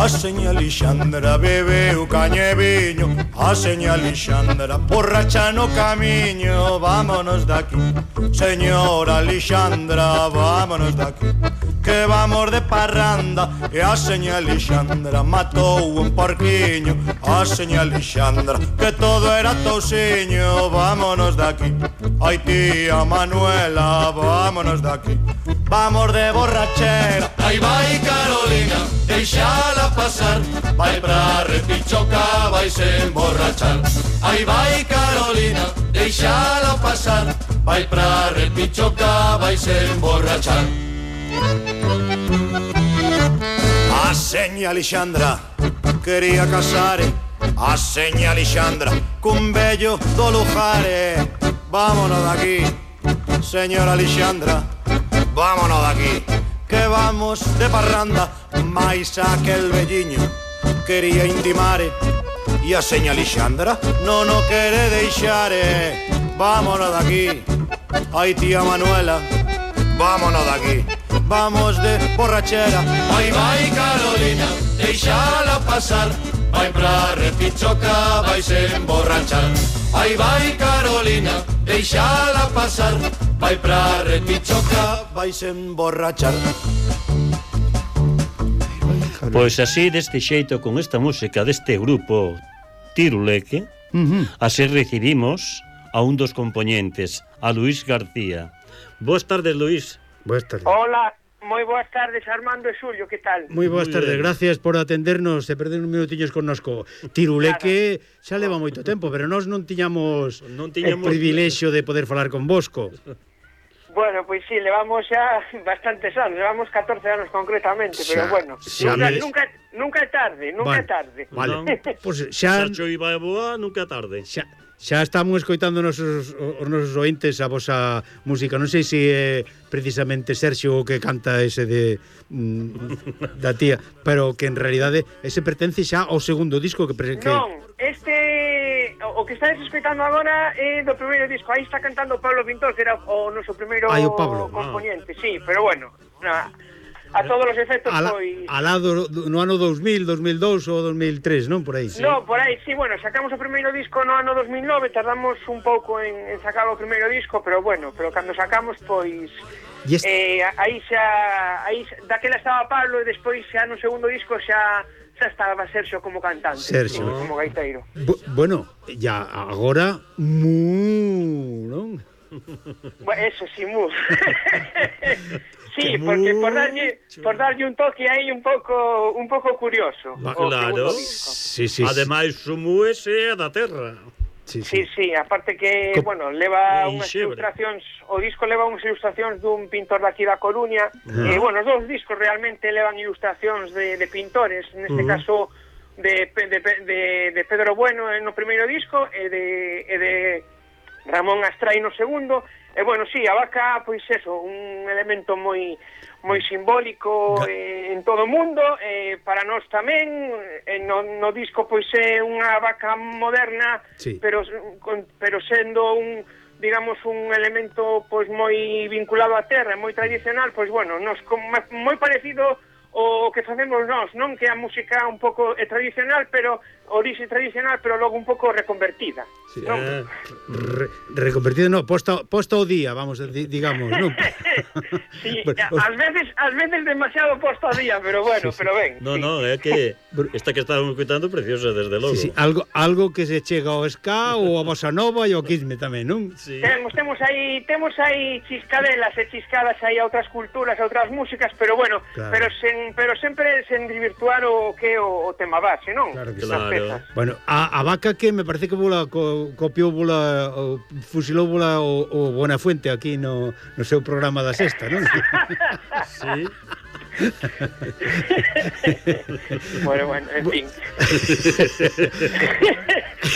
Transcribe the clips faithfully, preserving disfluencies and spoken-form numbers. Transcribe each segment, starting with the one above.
A seña Alexandra bebeu caña e viño, a seña Alexandra borracha no camiño. Vámonos daqui, señora Alexandra, vámonos daqui, que vamos de parranda. E a seña Alexandra matou un porquiño, a seña Alexandra que todo era tousiño. Vámonos daqui, ai tía Manuela, vámonos daqui, vamos de borrachera. Aí vai Carolina, deixala pasar, vai pra Repichoca, vai se emborrachar. Aí vai Carolina, deixala pasar, vai pra Repichoca, vai se emborrachar. A seña Alexandra quería casar, a seña Alexandra cun vello do Lujare. Vámonos daqui, señora Alexandra, vámonos daqui, que vamos de parranda. Mais aquel velliño quería intimar e a seña Alexandra non o quere deixar. Vámonos daqui, ai tía Manuela, vámonos daqui, vamos de borrachera. Vai, vai Carolina, deixala pasar, vai pra Repichoca, vai se emborrachar. Ai vai Carolina, deixala pasar, vai pra Repichoca, vai se emborrachar. Pois así, deste xeito, con esta música deste grupo Tiruleque, uh-huh. así recibimos a un dos componentes, a Luís García. Boas tardes, Luís. Boas tardes. Hola, moi boas tardes, Armando e Xulio, que tal? Moi boas tardes, gracias por atendernos e perder uns minutiños connosco. Tiruleque xa leva moito tempo, pero nós non tiñamos, non tiñamos... o privilexio de poder falar con vosco. Bueno, pois pues sí, levamos xa bastantes anos, levamos catorce anos concretamente, xa, pero bueno, nunca, me... nunca, nunca é tarde, nunca é tarde. Vale, pois pues xa... Xa choiva e boa, nunca é tarde. Xa, xa estamos escoitando os nosos, os nosos ointes a vosa música. Non sei se é precisamente Sergio o que canta ese de mm, da tía, pero que en realidade ese pertence xa ao segundo disco que... que... Non, este... O que estáis escoitando agora é do primeiro disco. Aí está cantando Pablo Pintor, que era o noso primeiro Ay, o Pablo. componente, ah. Sí, pero bueno, na, a todos os efectos a la, foi... A lado no ano dos mil, dos mil dous ou dos mil tres, non? Por aí, sí. No, por aí, sí, bueno, sacamos o primeiro disco no ano dos mil nove, tardamos un pouco en, en sacar o primeiro disco, pero bueno, pero cando sacamos, pois... Este... Eh, aí xa... Aí, daquela estaba Pablo e despois xa no segundo disco xa... xa estaba Sergio como cantante, Sergio. Sí, como gaiteiro. Bu bueno, ya agora mu, non? Bueno, eso sí, mu. Sí, porque por darlle por darlle un toque aí un pouco un pouco curioso. Va, claro. Sí, sí. Ademais o mu é da terra. Sí, sí, sí, sí, aparte que, Co bueno, leva unhas xebre. ilustracións, o disco leva unhas ilustracións dun pintor daqui da Coruña, uh-huh. e, bueno, os dous discos realmente levan ilustracións de, de pintores, neste uh-huh. caso de, de, de, de Pedro Bueno no primeiro disco, e de, e de Ramón Astray no segundo, e, bueno, sí, a vaca, pois eso, un elemento moi... moi simbólico eh, en todo o mundo, eh, para nós tamén, eh, no, no disco pois é unha vaca moderna, sí. pero con, pero sendo un, digamos, un elemento pois moi vinculado á terra, moi tradicional, pois bueno, nos con, moi parecido o que facemos nós, non? Que a música un pouco é tradicional, pero orixe tradicional, pero logo un pouco reconvertida. Sí, non? Eh, re, reconvertida, non, posta, posta ao día, vamos, digamos, non? Sí, ás veces, ás veces demasiado posta ao día, pero bueno, sí, sí. pero ben. No, sí. no, é que esta que estábamos escutando preciosa, desde logo. Sí, sí, algo, algo que se chega ao ska ou a bossa nova e ao quisme tamén, non? Sí. Temos, temos aí, temos aí chiscadelas e chiscadas aí a outras culturas, a outras músicas, pero bueno, claro. pero sen, pero sempre sen desvirtuar o que o, o tema base, non? Claro que claro. Bueno, a, a vaca que me parece que vola co, copiou vola o, fusilou vola o, o Buenafuente aquí no, no seu programa da sexta, non? Sí. Bueno, bueno, en fin.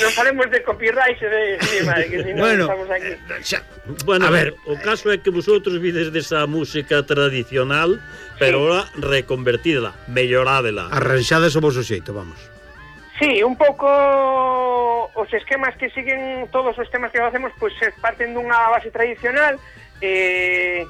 Non falemos de copyright de encima, que si non bueno, estamos aquí. Xa, bueno, a ver, o caso é que vosotros vides desa música tradicional, pero sí. ahora reconvertida, mellorádela. Arranxada sobre o xeito, vamos. Sí, un pouco os esquemas que siguen, todos os temas que facemos, pois pues, parten dunha base tradicional, eh,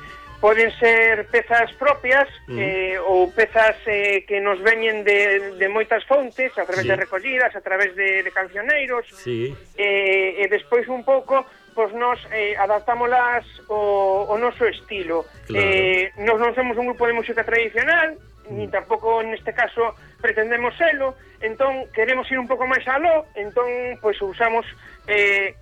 poden ser pezas propias mm. eh, ou pezas eh, que nos veñen de, de moitas fontes, a través sí. de recollidas, a través de, de cancioneiros, sí. eh, e despois un pouco pois nos eh, adaptámolas o, o noso estilo. Claro. Eh, nos non somos un grupo de música tradicional, mm. ni tampouco neste caso pretendemos selo, entón queremos ir un pouco máis aló, entón pois usamos eh,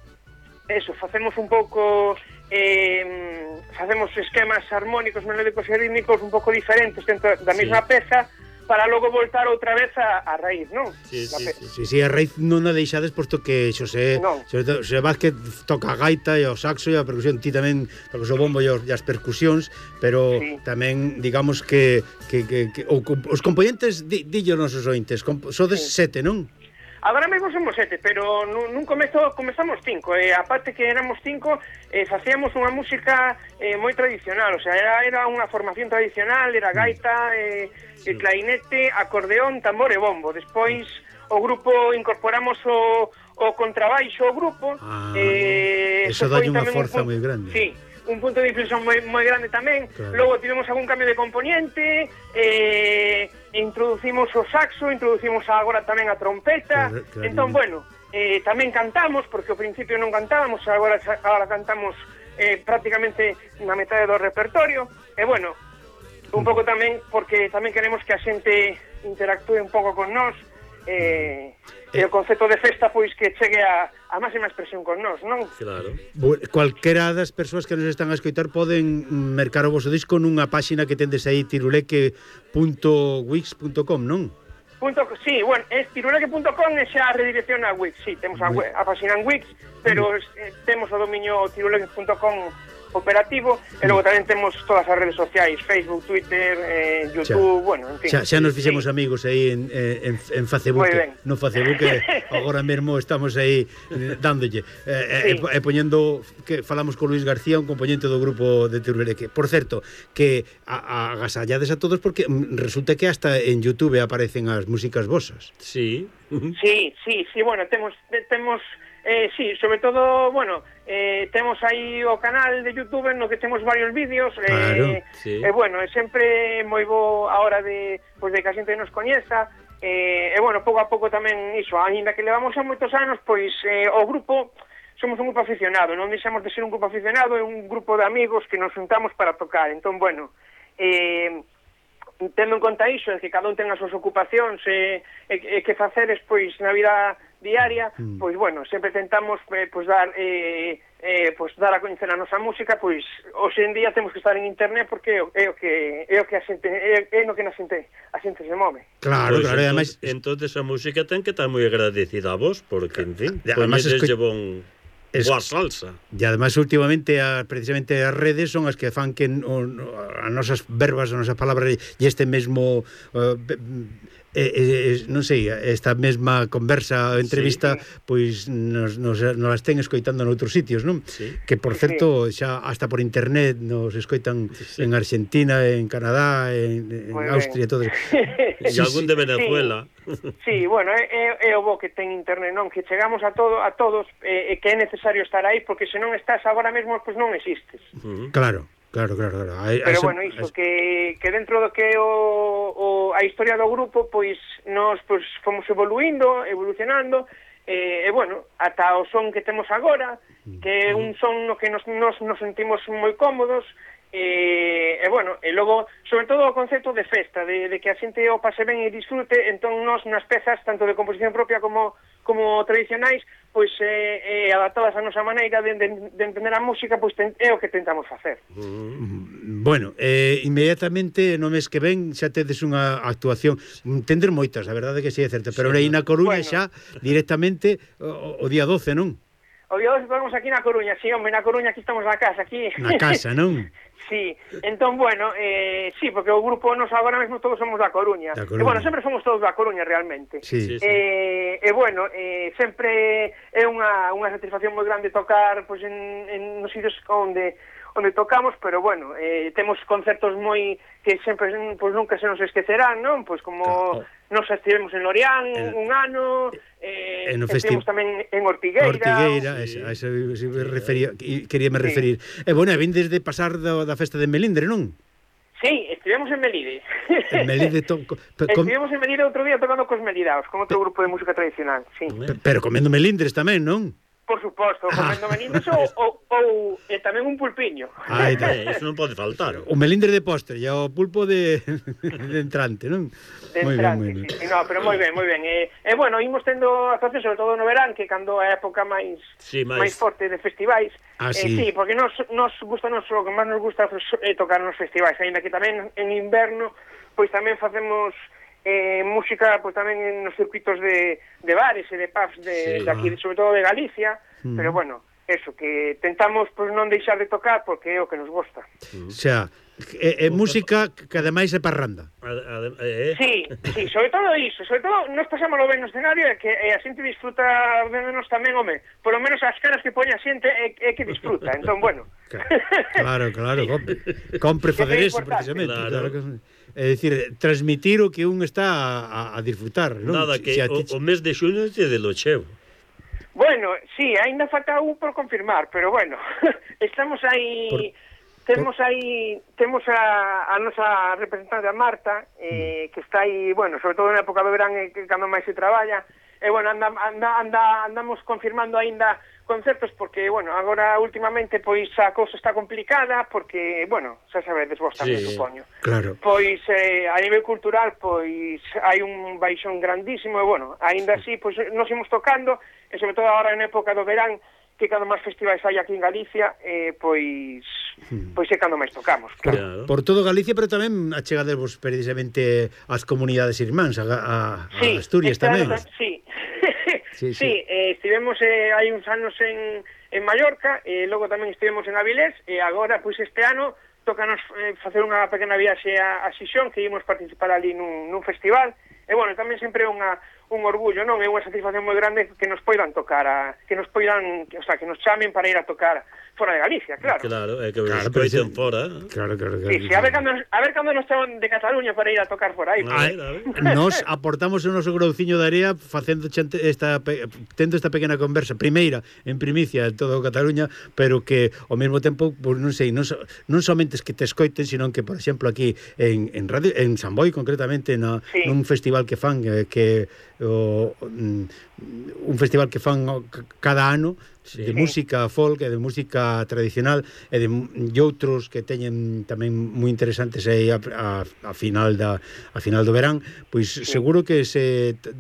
eso, facemos un pouco eh, facemos esquemas armónicos, melódicos e rítmicos un pouco diferentes dentro da mesma sí. peza, para logo voltar outra vez a, a raíz, non? Sí, sí, sí. Sí, sí, a raíz non a deixades posto que Xosé, no. Xosé, Xosé Vázquez toca a gaita e o saxo e a percusión, ti tamén tocas o bombo e, os, e as percusións, pero sí. tamén digamos que, que, que, que o, os componentes di, dillo nosos ointes, sodes sí. sete, non? Agora mesmo somos sete, pero nun, nun comezo comezamos cinco, e aparte que éramos cinco, eh, facíamos unha música eh, moi tradicional, o sea, era, era unha formación tradicional, era gaita, eh, sí. clarinete, acordeón, tambor e bombo. Despois o grupo incorporamos o, o contrabaixo ao grupo. Ah, eh, eso dá unha forza moi grande. Sí, un punto de inflexión moi, moi grande tamén. Claro. Logo tivemos algún cambio de componente, eh, introducimos o saxo, introducimos agora tamén a trompeta. Claro, claro. Entón, bueno, eh, tamén cantamos, porque ao principio non cantábamos, agora, agora cantamos eh, prácticamente na metade do repertorio. E bueno, un pouco tamén porque tamén queremos que a xente interactúe un pouco con nós, eh, e o concepto de festa pois que chegue a, a máxima expresión con nós, non? Claro. Cualquera das persoas que nos están a escoitar poden mercar o vosso disco nunha páxina que tendes aí tiruleque punto wix punto com, non? Punto, sí, bueno, é tiruleque punto com e xa a redirección a Wix, sí, temos a, a páxina en Wix, pero eh, temos o dominio tiruleque punto com operativo, e logo tamén temos todas as redes sociais, Facebook, Twitter, eh, YouTube, xa. Bueno, en fin. Xa, xa nos fixemos sí. amigos aí en, en, en Facebook, no Facebook, agora mesmo estamos aí dándolle, eh, sí. e, e poñendo, que falamos con Luis García, un componente do grupo de Tiruleque. Por certo, que a, a agasallades a todos, porque resulta que hasta en YouTube aparecen as músicas vosas. Sí. Sí, sí, sí, bueno, temos temos Eh, sí, sobre todo, bueno, eh, temos aí o canal de YouTube no que temos varios vídeos, claro, eh, sí. eh, bueno, é sempre moi bo a hora de, pues, de que a xente nos coñeza, eh, e bueno, pouco a pouco tamén iso, ainda que levamos xa moitos anos, pois eh, o grupo, somos un grupo aficionado, non deixamos de ser un grupo aficionado, é un grupo de amigos que nos juntamos para tocar, entón, bueno, eh, tendo en conta iso, é que cada un ten as súas ocupacións e, e, e que faceres, pois, na vida diaria, mm. pois, bueno, sempre tentamos eh, pois, dar eh, eh, pois, dar a coñecer a nosa música, pois, hoxe en día temos que estar en internet porque é o que é o que a xente, é, é no que na xente, a xente se move. Claro, pues claro, entonces, además entonces a música ten que estar moi agradecida a vos, porque, en fin, además pois esco... bon... Es, boa salsa. E además últimamente a, precisamente as redes son as que fan que o, as nosas verbas, as nosas palabras e este mesmo uh, eh, eh, non sei, esta mesma conversa, entrevista, sí. pois nos, nos, nos las ten escoitando noutros sitios, non? Sí. Que por certo, xa hasta por internet nos escoitan sí. en Argentina, en Canadá, en, en Austria, todo. E sí, algún de Venezuela. Sí, sí, bueno, é, é o bo que ten internet, non? Que chegamos a todo a todos e eh, que é necesario estar aí, porque se non estás agora mesmo, pois non existes. Uh-huh. Claro. Claro, claro, claro. A, Pero a bueno, iso, a... que, que dentro do que o, o, a historia do grupo, pois, nos pois, fomos evoluindo, evolucionando, e, e bueno, ata o son que temos agora, que é un son no que nos, nos, nos sentimos moi cómodos, e, e bueno, e logo, sobre todo o concepto de festa, de, de que a xente o pase ben e disfrute, entón nos nas pezas, tanto de composición propia como como tradicionais, pois eh, eh, adaptadas a nosa maneira de, de, de entender a música, pois ten, é o que tentamos facer. Mm. Bueno, eh, inmediatamente no mes que ven xa tedes unha actuación, tender moitas, a verdade que si é certa, pero sí, aí na Coruña bueno. xa directamente o, o día doce, non? O día doce estamos aquí na Coruña, sí, hombre, na Coruña aquí estamos na casa, aquí. Na casa, non? Sí, entón, bueno, eh, sí, porque o grupo nos agora mesmo todos somos da Coruña. Da Coruña. E, bueno, sempre somos todos da Coruña, realmente. Sí, sí, sí. Eh, e, bueno, eh, sempre é unha, unha satisfacción moi grande tocar pois, en, en nos sitios onde onde tocamos, pero, bueno, eh, temos concertos moi que sempre, pois, nunca se nos esquecerán, non? Pois, como claro. nos estivemos en Lorián el, un ano, eh, no estivemos tamén en Ortigueira. Ortigueira, sí. a esa se refería, queríame sí. referir. E bueno, vindes de pasar da, da festa de Melindre, non? Sí, estivemos en Melide. En Melide to, com, estivemos en Melide outro día tocando cos Melidaos, con outro grupo de música tradicional, sí. Pero comendo melindres tamén, non? Por suposto, comendo melindres ou, ou, ou e tamén un pulpiño. Ai, Eh, Eso non pode faltar. o melindre de postre e o pulpo de, de entrante, non? De Moi ben, moi ben. Sí, sí, no, pero moi ben, moi ben. E, e bueno, imos tendo actuacións, sobre todo no verán, que cando é a época máis Sí, máis- máis forte de festivais. Ah, eh, sí. sí, porque nos, nos gusta, nos, o que máis nos gusta é tocar nos festivais, ainda que tamén en inverno, pois tamén facemos eh, música pois tamén nos circuitos de, de bares e de pubs de, Sí. de aquí, sobre todo de Galicia, Mm. pero bueno, eso, que tentamos pois non deixar de tocar porque é o que nos gusta. O sea, é, é música que ademais é parranda. A- a- eh, Sí, sí, sobre todo iso, sobre todo nos pasámoslo ben no escenario e que e a xente disfruta menos tamén, home, polo menos as caras que poña a xente é, é que disfruta, entón, bueno. Claro, claro, compre, compre facer Que é eso importante. precisamente, Claro. claro, que é dicir, transmitir o que un está a, a disfrutar, non? Nada, que Se a o, ti- o mes de xuño é de lo cheo. Bueno, sí, aínda falta un por confirmar, pero bueno, estamos aí, Por- temos aí, temos a, a nosa representante a Marta, eh, que está aí, bueno, sobre todo na época do verán, eh, que cando máis se traballa, e bueno, anda, anda, anda, andamos confirmando aínda concertos, porque, bueno, agora últimamente, pois, a cousa está complicada, porque, bueno, xa sabedes vos tamén, Sí. supoño. Claro. Pois eh, a nivel cultural pois hai un baixón grandísimo e bueno, aínda así pois nos imos tocando e sobre todo agora en época do verán que cando máis festivais hai aquí en Galicia eh, pois pois é cando máis tocamos, Por, claro. Claro. por todo Galicia, pero tamén achegadevos precisamente ás comunidades irmáns, a, a, a Asturias este ano tamén. ta- Sí, Sí, sí, sí. eh, estivemos eh, hai uns anos en, en Mallorca e logo tamén estivemos en Avilés e agora pois este ano tócanos eh, facer unha pequena viaxe a, a Xixón, que ímos participar ali nun, nun festival e bueno, tamén sempre é unha un orgullo, non? É unha satisfacción moi grande que nos poidan tocar a, que nos poidan, o sea, que nos chamen para ir a tocar fora de Galicia, claro. Claro, é que os Claro, pero escoiten se- fora. Claro, claro, claro. Sí, sí, a ver cando a ver cando nos chaman de Cataluña para ir a tocar por aí. A Ai, ver, a ver. Nos aportamos o noso grouciño de area facendo chante esta pe- tendo esta pequena conversa primeira en primicia en todo Cataluña, pero que ao mesmo tempo, pues, non sei, non, so, non somente es que te escoiten, sino que por exemplo aquí en en radio en San Boi concretamente na Sí. nun festival que fan eh, que o mm, un festival que fan o- c- cada ano Sí. de música folk e de música tradicional e de e outros que teñen tamén moi interesantes aí a, a, a final da a final do verán, pois sí. Seguro que se t-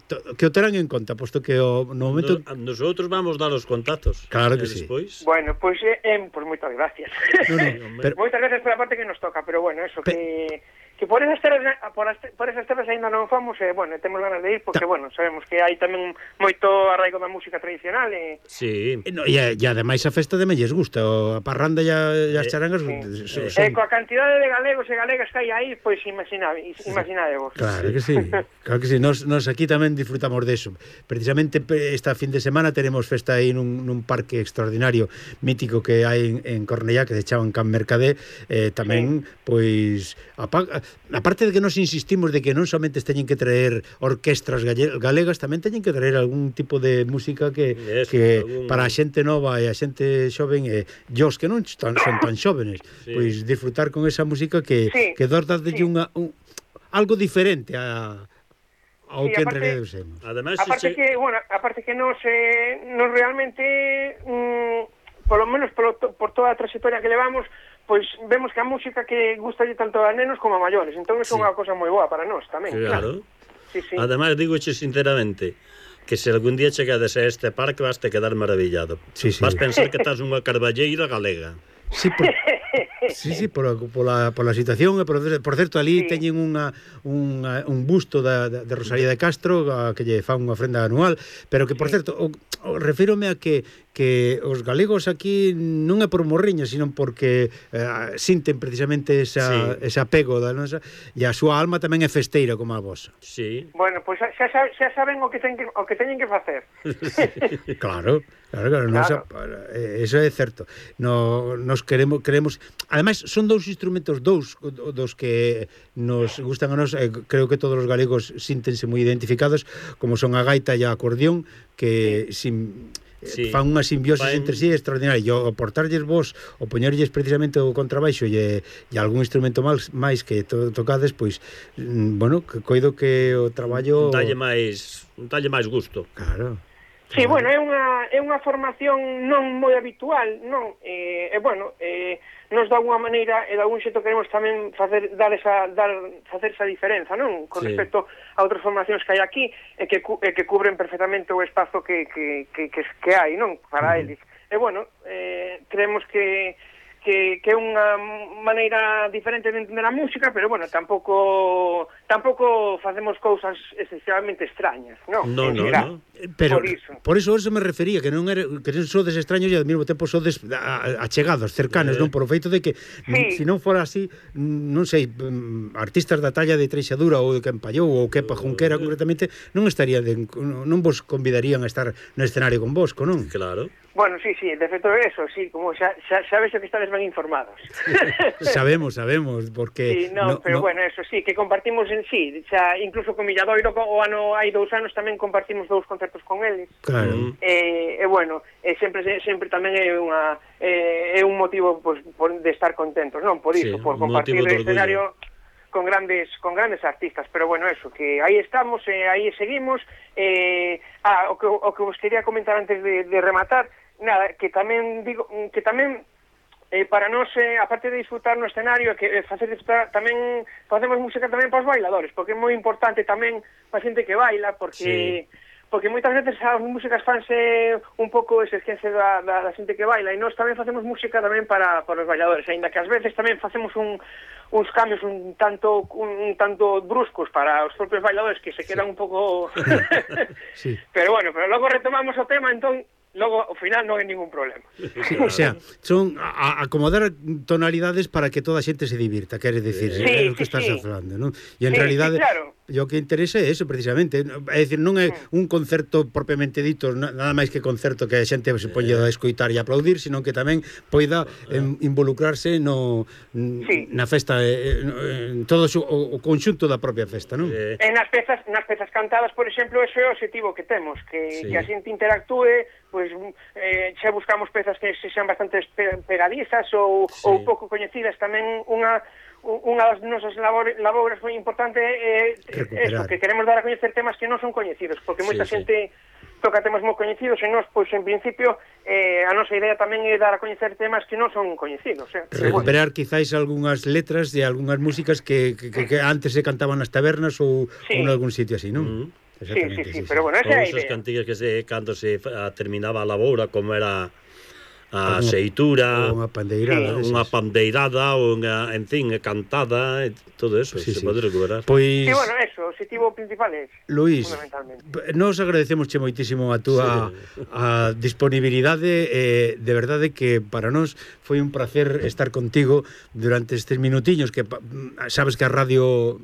to, que o terán en conta, posto que o, no momento Nos, nosotros vamos dar os contactos. Claro que E sí. despois, Bueno, pois eh, eh, pues moitas gracias. no, no, Hombre. pero, Moitas gracias pola parte que nos toca, pero bueno, eso Pe- que que por esas terras por, as, por esas terras aínda non fomos, e eh, bueno, temos ganas de ir porque Ta- bueno, sabemos que hai tamén moito arraigo da música tradicional e sí. e no, e, e ademais a festa tamén lles gusta, o, a parranda e, a, e as Eh, charangas sí. son, eh, son, coa cantidade de galegos e galegas que hai aí, pois imaginade, imaginadevos. Claro que sí, claro que sí. Nos, nos aquí tamén disfrutamos deso. Precisamente pe- esta fin de semana teremos festa aí nun, nun parque extraordinario mítico que hai en, en Cornellá, que se chaman Can Mercadé, eh, tamén, sí. Pois apa, aparte de que nos insistimos de que non somente teñen que traer orquestras galle, galegas, tamén teñen que traer algún tipo de música que, Eso, que algún... para a xente nova e a xente xoven e os que non tan, son tan xóvenes, Sí. pois disfrutar con esa música que, Sí, que dós dadelle sí. unha un, algo diferente a ao Sí, que en aparte- realidad usemos. Ademais, Aparte se... que, bueno, aparte que nos, eh, nos realmente, mm, por lo menos por, por toda a trayectoria que levamos, pois vemos que a música que gusta tanto a nenos como a maiores, entón é Sí. unha cosa moi boa para nós tamén. Claro. Sí, sí. Ademais, digoche sinceramente que se algún día chegades a este parque vas te quedar maravillado. Sí, sí. Vas pensar que estás unha carballeira galega. Sí, por, sí, sí, por, por, la, por la situación e por, por certo, ali Sí. teñen unha, unha, un busto da, da, de Rosalía de Castro a, que lle fan unha ofrenda anual, pero que, por certo, o, o, refírome a que que os galegos aquí non é por morriña, sino porque eh, sinten precisamente esa, Sí. ese apego da nosa, e a súa alma tamén é festeira como a vosa. Sí. Bueno, pois xa, xa, xa saben o que ten que, o que teñen que facer. Claro, Claro, claro, nos, Claro. eso é certo. No, nos queremos, queremos, ademais son dous instrumentos, dous dos que nos gustan a nós, eh, creo que todos os galegos síntense moi identificados, como son a gaita e a acordeón, que sin Sí. fan unha simbiosis Fan... entre sí extraordinaria. E o aportarlles vos, o poñerlles precisamente o contrabaixo e, e algún instrumento máis, máis que to, tocades, pois, mm, bueno, que coido que o traballo... Dalle máis, dalle máis gusto. Claro. Sí, bueno, é unha, é unha formación non moi habitual, non? E, eh, bueno, eh, nos de alguna maneira e de algún xeito queremos tamén facer dar esa dar facer esa diferenza, non? Con Sí. respecto a outras formacións que hai aquí e que cu, e que cubren perfectamente o espazo que que que que, que hai, non? Para eles. E bueno, eh, creemos que que, que é unha maneira diferente de entender a música, pero bueno, tampouco tampouco facemos cousas excesivamente extrañas, non? No, En no, xeral. no. Pero Por iso. por iso eso me refería, que non era, que non sodes extraños e ao mesmo tempo sodes a- achegados, cercanos, Eh. non? Por o feito de que Sí. se non fora así, non sei, mm, artistas da talla de Treixadura ou de Campallou ou Kepa Junquera concretamente, non estaría de, non vos convidarían a estar no escenario con vosco, non? Claro. Bueno, sí, sí, de feito eso, sí, como xa, xa, xa vexo que estades ben informados. Sabemos, sabemos, porque Sí, no, pero bueno, eso sí, que compartimos en sí, xa incluso con Milladoiro o ano hai dous anos tamén compartimos dous concertos con eles. claro. E, e bueno, e sempre sempre tamén é unha é, é un motivo pues, por, de estar contentos, non? Por iso, Sí, por un compartir motivo de o escenario con grandes con grandes artistas, pero bueno, eso, que aí estamos, e aí seguimos. Eh, ah, o que o que vos quería comentar antes de, de rematar, nada, que tamén digo que tamén eh, para nós, eh, aparte de disfrutar no escenario, que eh, facer disfrutar, tamén facemos música tamén para os bailadores, porque é moi importante tamén para a xente que baila, porque Sí. porque moitas veces as músicas fanse un pouco ese esquece da, da, da xente que baila, e nós tamén facemos música tamén para, para os bailadores, aínda que ás veces tamén facemos un, uns cambios un tanto un, un tanto bruscos para os propios bailadores que se quedan un pouco Sí. pero bueno, pero logo retomamos o tema, entón logo ao final non hai ningún problema. O sea, son a, a acomodar tonalidades para que toda a xente se divirta, queres decir, Sí, é o que sí, estás sí. falando, non? E en Sí, realidade, sí, claro. e o que interesa é eso precisamente, é dicir, non é un concerto propiamente dito, na- nada máis que concerto que a xente se poña a escoitar e aplaudir, sino que tamén poida em, involucrarse no Sí. na festa, eh, no, en todo o, o conxunto da propia festa, non? Eh, E nas pezas, nas pezas cantadas, por exemplo, ese é o objetivo que temos, que, Sí. que a xente interactúe, pois eh, xa buscamos pezas que se xan bastante pe pegadizas ou, Sí. ou pouco coñecidas. Tamén unha unha das nosas labores, labores moi importante é Recuperar. eso, que queremos dar a coñecer temas que non son coñecidos, porque moita Sí, sí. xente toca temas moi coñecidos e nós, pois, en principio, eh, a nosa idea tamén é dar a coñecer temas que non son coñecidos. Eh? Pero bueno. Recuperar quizáis algunhas letras de algunhas músicas que, que, que, que antes se cantaban nas tabernas ou, Sí. ou en algún sitio así, non? Mm. Sí, sí, sí, pero bueno, esa Ou é a esas idea. cantigas que se cando se fa- terminaba a lavoura, como era a Unha- seitura, ou unha pandeirada, sí, desas. unha pandeirada, ou unha, en fin, cantada, e todo eso, Sí, se sí. pode recuperar. Pois, Sí, bueno, eso, o objetivo principal é ese, Luís, fundamentalmente. nos agradecemos che moitísimo a túa a disponibilidade, eh, de verdade que para nós foi un placer estar contigo durante estes minutiños que pa- sabes que a radio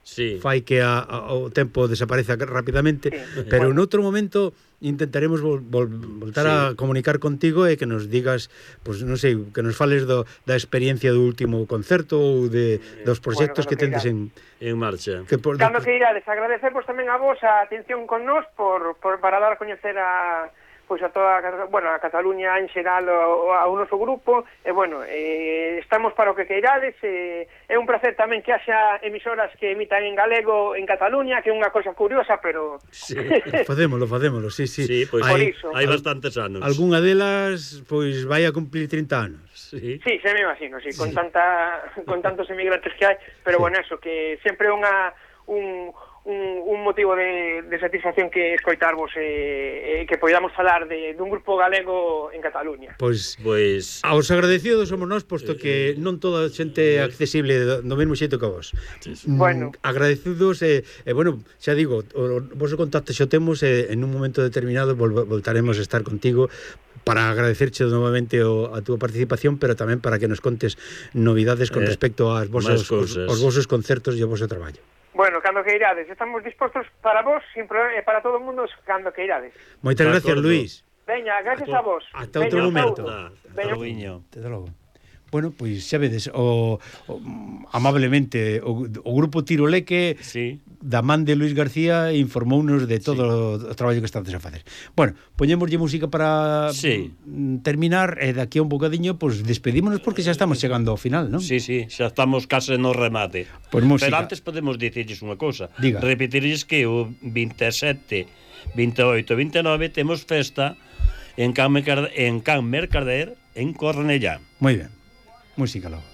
Sí. fai que a, a, o tempo desapareza rapidamente, Sí. pero Bueno. en outro momento intentaremos vol, vol, voltar Sí. a comunicar contigo e que nos digas, pues non sei, que nos fales do, da experiencia do último concerto ou de dos proxectos Bueno, que tendes en En marcha. que por, Cando que irades, agradecervos tamén a vos a atención con nós por, por para dar a coñecer a pois a toda a, bueno, a Cataluña en xeral o, ao noso grupo e bueno, eh, estamos para o que queirades e é un placer tamén que haxa emisoras que emitan en galego en Cataluña, que é unha cosa curiosa, pero Sí. Facémolo, facémolo, sí, sí. Sí, pois Por Hai iso. hai bastantes anos. algunha delas pois vai a cumplir trinta anos. Sí. sí, se me imagino, sí, con tanta con tantos emigrantes que hai, pero bueno, eso que sempre é unha un un, un motivo de, de satisfacción que escoitarvos e eh, que podamos falar de dun grupo galego en Cataluña. Pois Pois aos agradecidos somos nós, posto que non toda a xente é accesible do, do mesmo xeito que vos. Mm, Bueno. Agradecidos e, e bueno, xa digo, o, o vosso contacto xo temos e en un momento determinado vol, voltaremos a estar contigo para agradecerche novamente o, a túa participación, pero tamén para que nos contes novidades con Eh, respecto aos vosos, máis os, cousas. os vosos concertos e ao voso traballo. Bueno, cando que irades, estamos dispostos para vos, sin problema, e para todo o mundo, cando que irades. Moitas De gracias, acordo. Luís. Veña, gracias a vos. Ata Veña, outro momento. Hasta logo. Desde logo. Bueno, pois xa vedes, o, o amablemente o, o grupo Tiroleque sí. da man de Luis García informounos de todo sí. o traballo que estades a facer. Bueno, poñémoslle música para sí. terminar e daqui a un bocadiño pois pues, despedímonos porque xa estamos chegando ao final, non? Sí, sí, xa estamos case no remate. Pois música. Pero antes podemos dicirles unha cousa. Diga. Repetirles que o veintisiete, veintioito, veintinueve temos festa en Can Mercader, en Can Mercader en Cornellá. Moi ben. Música logo.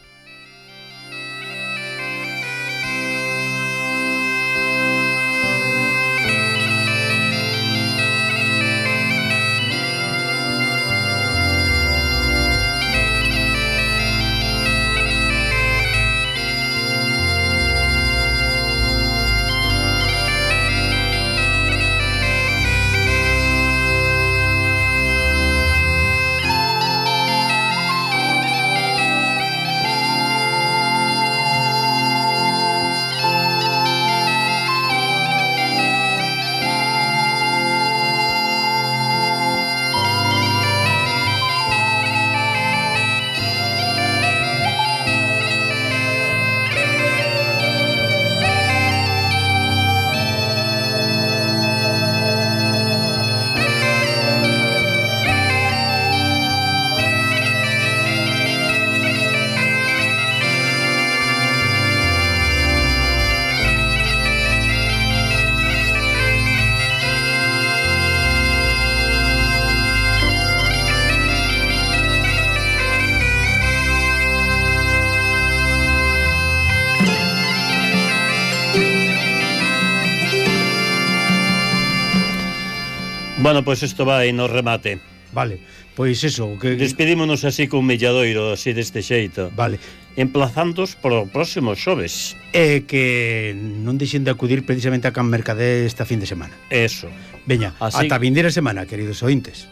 Bueno, pois pues isto vai no remate. Vale, pois eso que... Despedímonos así con Milladoiro, así deste xeito. Vale. Emplazándos para o próximo xoves. E que non deixen de acudir precisamente a Can Mercader esta fin de semana. Eso. Veña, así... ata vindeira semana, queridos ointes.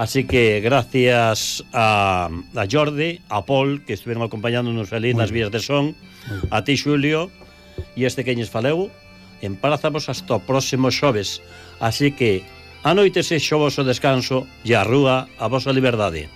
Así que gracias a, a Jordi, a Paul, que estuvieron acompañándonos ali nas vías de son, a ti, Xulio, e este que ñes faleu, emplazamos hasta o próximo xoves. Así que a noite se xo voso descanso e a rúa a vosa liberdade.